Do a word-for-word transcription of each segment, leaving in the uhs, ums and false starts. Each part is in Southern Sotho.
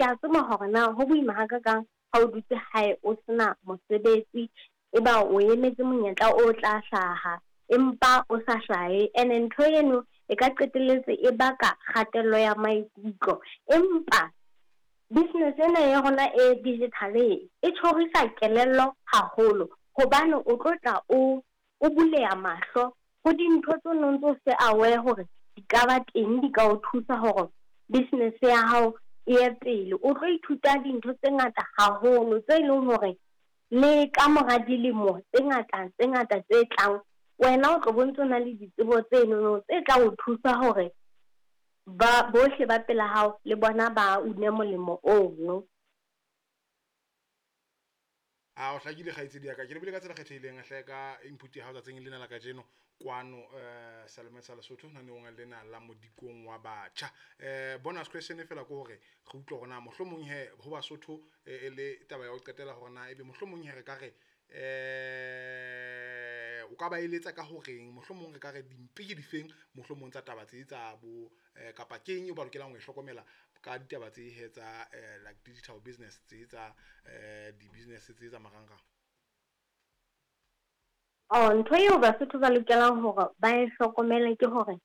Ke a tseba hore na ho boima hakakang ha o dutse hae o sena mosebetsi, eba o emetse monyetla o tla hlaha empa o sa hlahe. Ene ntho eno e ka qetelletse e baka kgatello ya maikutlo. Empa business ena ya rona e digital e, e tjhorisa kelello haholo hobane o tlo tla o, o buleha mahlo ho dintho tseo no ntso se aware hore di ka ba teng, di ka o thusa hore business ya hao e ye pele. O tlo ithuta dintho tse ngata haholo tse leng hore le ka mora dilemo tse ngata tse ngata tse tlang, wena o tlo bo ntso na le ditsebo tsenono tse tla o thusa hore ba bohle ba pela hao le bona ba une molemo ono. A o hlakile kgaitsedi ya ka. Ke lebile ka tsela kgethehileng hle ka input ya hao tsatsing lena la kajeno kwano eh Salome sa Lesotho naneong lena la modikong wa batjha. Eh bonus question fela ke hore re utlwe hore na mohlomong he ho Basotho e le taba ya ho qetela hore na ebe mohlomong he re ka re eh o ka ba eletsa ka horeng mohlomong re ka re dimpe ke difeng mohlomong tsa taba tse tsa bo eh, kapa keng eo ba lokelang ho e hlokomela ka ditaba tse he tsa eh, like digital business tse tsa eh di-business tse tsa marangrang. Oh, ntho eo Basotho ba lokelang hore ba e hlokomele ke hore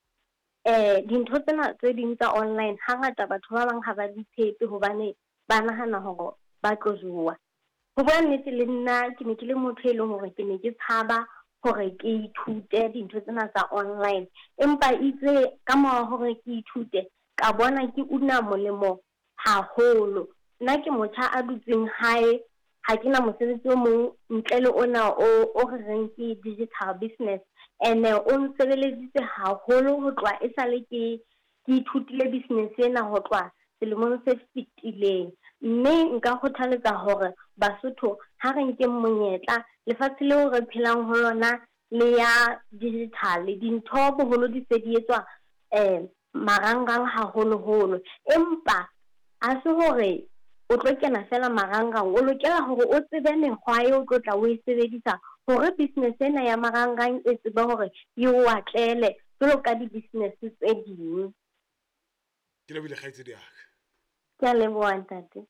eh dintho tsena tse ding tsa online hangata batho ba bang ha ba di tshepe hobane ba nahana hore ba tlo jowa. Ho bua nnete le nna ke ne ke le motho e leng hore ke ne ke tshaba hore ke ithute dintho tsena tsa online. Empa itse ka mora hore ke ithute, ka bona ke una molemo haholo. Nna ke motjha a dutseng hae, ha ke na mosebetsi o mong ntle le ona o, o re reng ke digital business. Ene o nsebeleditse haholo ho tloha esale ke, ke ithutile business ena ho tloha selemong se fetileng. Mme nka kgothaletsa hore Basotho ha re nkeng monyetla, lefatshe leo re phelang ho lona le ya digital, dintho boholo di se di etswa eh marangrang haholoholo. Empa ha se hore o tlo kena fela marangrang, o lokela hore o tsebe mekgwa eo o tlo tla o e sebedisa hore business ena ya marangrang e tsebe hore e o atlele jwalo ka di-business tse ding. Ke lebohile kgaitsedi ya ka. Ke a leboha ntate.